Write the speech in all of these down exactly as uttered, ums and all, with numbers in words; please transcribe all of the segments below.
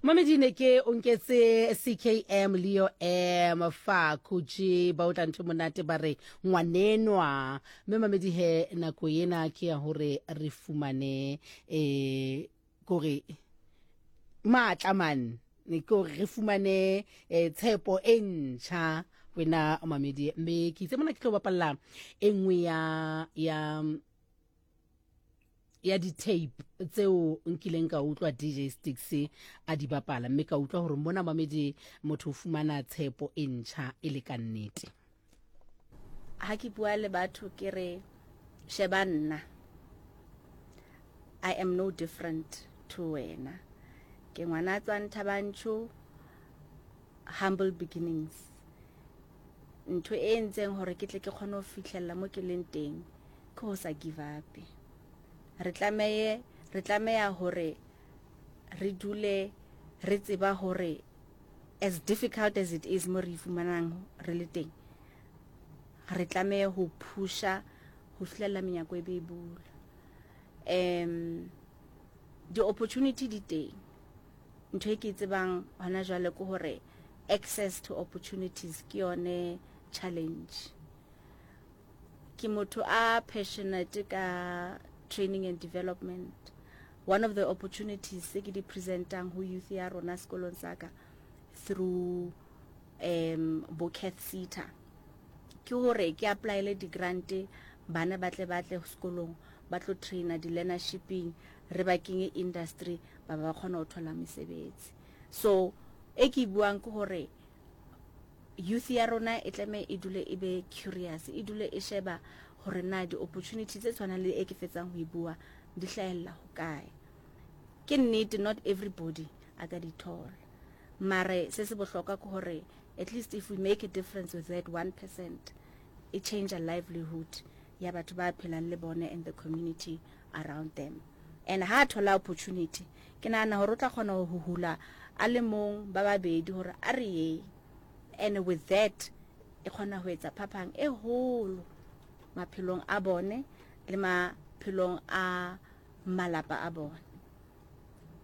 Mamedi ne ke o nketse C K M Leo M fa khutše ba o tla ntho monate ba re ngwanenwa. Mme mamedi he, nako ena ke ya hore re fumane eh kore matla man, ke hore re fumane eh, tshepo e ntjha wena mamedi. Mme ke itse mona ke tlo bapalla e nngwe ya ya ya di-tape tseo nkileng ka utlwa D J Sticks a di bapala, mme ka utlwa hore mona mamedi motho o fumana tshepo e ntjha e le ka nnete. Ha ke bua le batho ke re, sheba nna, I am no different to wena. Ke ngwana a tswang Thaba Nchu, humble beginnings. Ntho e entseng hore ke tle ke kgone ho fihlella mo ke leng teng ke ho sa give up. Re tlameye re tlameha hore re dule re tseba hore as difficult as it is mo re fumanang re le teng, re tlameha ho pusha ho fihlella menyako e be e bula. um di-opportunity di teng. Ntho e ke e tsebang hona jwale ke hore access to opportunities ke yone challenge. Ke motho a passionate ka training and development. One of the opportunities tse ke di presentang ho youth ya rona sekolong sa ka through um bo CATHSSETA ke hore ke applyele di-grant, bana ba tle ba tle sekolong ba tlo traina di-learnershiping, re ba kenye industry, ba ba kgona ho thola mesebetsi. So e ke e buang ke hore youth ya rona e tlameha e dule e be curious, e dule e sheba hore na di-opportunity tse tshwanang le e ke fetsang ho e bua di hlahella ho kae. Ke nnete, not everybody a ka di thola, mare se se bohlokwa ke hore at least if we make a difference with that one percent, e change a livelihood ya batho ba phelang le bone and the community around them. And ha thola opportunity, ke nahana hore o tla kgona ho hula a le mong, ba babedi, hore a re ye, and with that e kgona ho etsa phapang e holo maphelong a bone le maphelong a malapa a bone.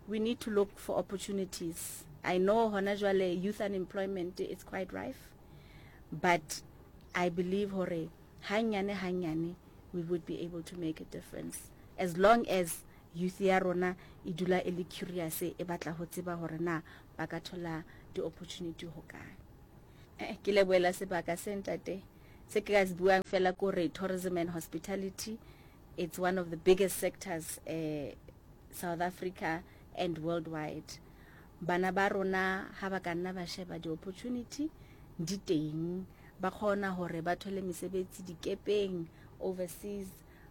We need to look for opportunities. I know hona jwale youth unemployment is quite rife, but I believe hore hanyane hanyane we would be able to make a difference as long as youth ya rona e dula e le curious, e batla ho tseba hore na ba ka thola di-opportunity ho kae. eh, ke lebohela sebaka se, ntate. Se ke ka se buang fela ko re tourism and hospitality, it's one of the biggest sectors uh, South Africa and worldwide. Bana ba rona ha ba ka nna ba sheba, di-opportunity di teng. Ba kgona hore ba thole mesebetsi dikepeng overseas,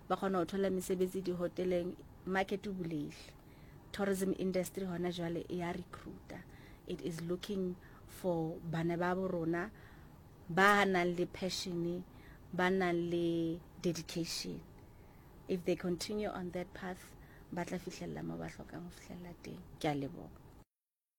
ba kgona ho thola mesebetsi dihoteleng. Market o bulehile. Tourism industry hona jwale e ya recruiter. It is looking for bana ba bo rona ba nang le passion, ba nang le dedication. If they continue on that path, ba tla fihlella mo ba hlokang ho fihlella teng. Ke a leboha.